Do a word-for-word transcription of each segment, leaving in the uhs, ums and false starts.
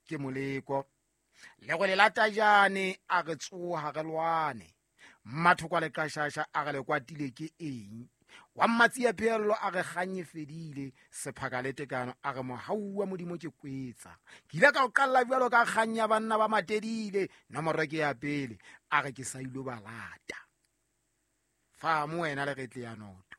Ke moleko le go le lata jane a re tsoha re lwane mathoko a le qashasha a re le kwatile ke eng wa mmatsi ya pheello a re kganye fedile sephaka le tekano a re mohau wa modimo ke kwetsa ke ile ka o qalla jwalo ka kganya banna ba matedile nomoro ke ya pele a re ke sa ilo ba lata fa mo wena le retle ya noto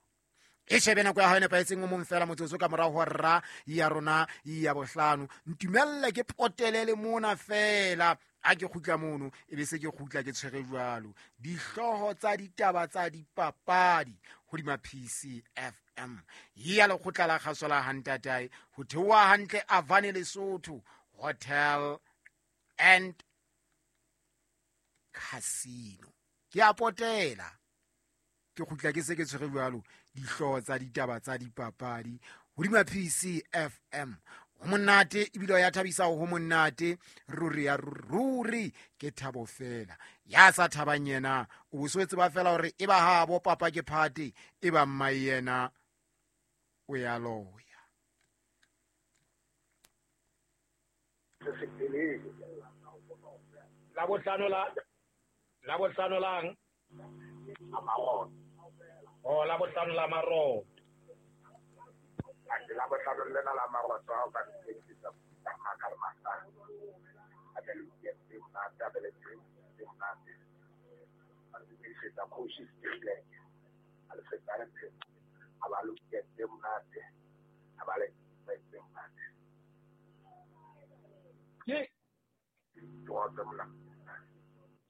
e shebe nako ya hao e nepahetseng o mong fela motsotso ka morao ho rra ya rona ya bohlano ntumelle ke potele le mona fela a ke kgutla mono e be se ke kgutla ke tshwere jwalo dihlooho tsa ditaba tsa dipapadi hodima P C F M ya lekgotla la kgaso la Hantatae ho theoha hantle Avane Lesotho Hotel and Casino ke a potela ke kgutla ke se ke tshwere jwalo dihlooho tsa ditaba tsa dipapadi hodima P C F M ho monate ebile ya thabisa ho monate ruri ya ruri ke thabo fela ya sa thabang yena o boswetse ba fela hore e ba ha bo papa ke phate e ba mma yena o ya loya la bohlano la la bohlano lang oh la bohlano la maro la bohlano lena la marotho ao ka diketsa tsa ka masa a be le ke tsa be le tse monate a di feta coach stile a le feta le a ba lo ke tse monate a ba le tse monate ke tsoa monate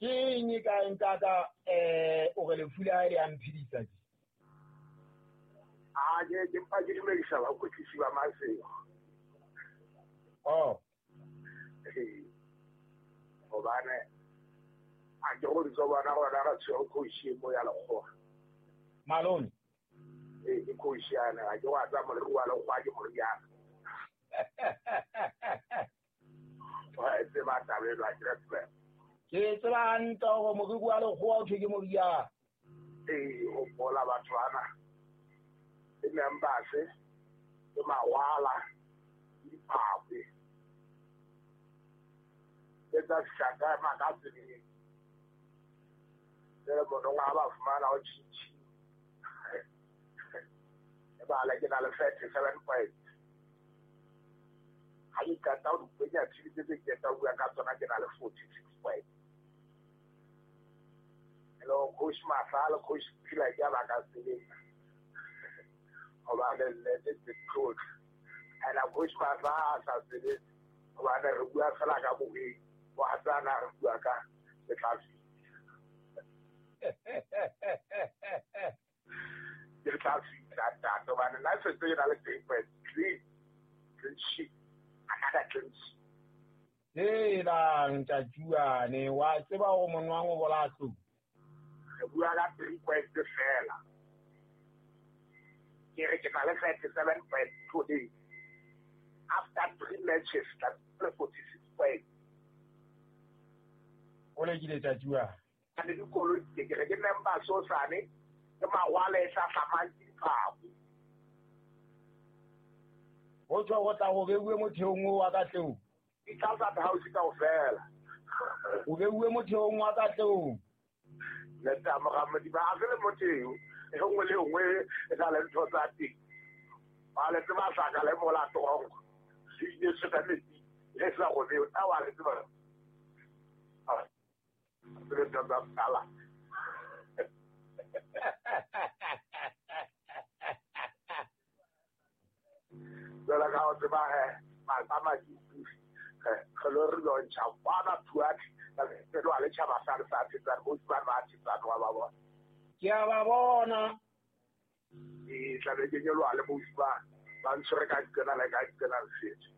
ke eng ka ntata eh o re le fula le a mphidisa ke a ke ke mpa ke dumedisa ba kwetlisi ba Masego oh hobane a ke go ditso bona gona ga tshwere coach mo ya lekgowa malone ee ke coach yana a ke wa tsa moriri wa lekgowa ke moriana wa e tseba taba eno a ke re ke tseba hantle hore moriri wa lekgowa o thwe ke moriana ee o bola batho bana ke members ke mawala ke diphakwe ke tsa shaka makatseng le monong ha ba fumana o tjhitjhi e bala ke na le thirty-seven points ha ke qeta ho dipenya tshebetso tse ke qeta ho bua ka tsona ke na le forty-six points hello coach Masala coach Phila ke ba ka sebetsa hobane nnete ke coach and a coach Masala a sa sebetse hobane re bua fela ka boheng wa tsana re bua ka le tla fihla ke tla fihla ntate hobane nna setse ke na le three point three clean sheet another clean sheet hela ntatjuane wa tseba hore monwang o bola tlou re bua ka three point fela ke re ke na le thirty-seven point today after three matches that's forty-six points o lekile tjatjua a le dikoloi ke ke re ke member so sane ke mawala e sa hlamang ke diphako ho tswa go tla go beuwe motheong o wa Katlehong di tla tsa house kaofela o beuwe motheong wa Katlehong le tsa mogamedi ba a le motheo e nngwe le nngwe e na le ntho tsa teng ba le tseba sa ka le mola trongo se ile se ka metsi le sa go beo a wa le tseba le tsa tsala jwalo ka o tseba he ma ke re lo re lo ntsha kwana thuati re lo le tjhaba sa le sa tsana bo ba ba tsana wa ba bona ke a ba bona e tla be ke nyoloha le bosi ba ba ntshwere ka dikena le ka dikena le setso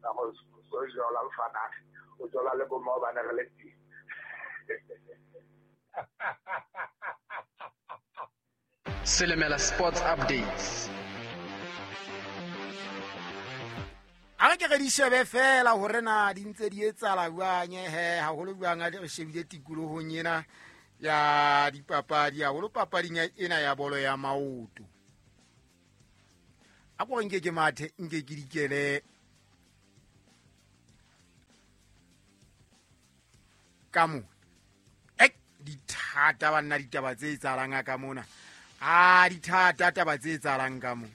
ka go so jola mfana o jola le bo ma ba ne re le teng Silimela Sports Updates. A re ke re di shebe fela hore na di ntse di etsahala jwang he haholo jwang a re shebile tikolohong ena ya dipapadi haholo papading ena ya bolo ya maoto. A ko nke ke mathe nke ke dikele Ka mona e dithata banna, ditaba tse etsahalang ka mona, a dithata taba tse etsahalang ka mona.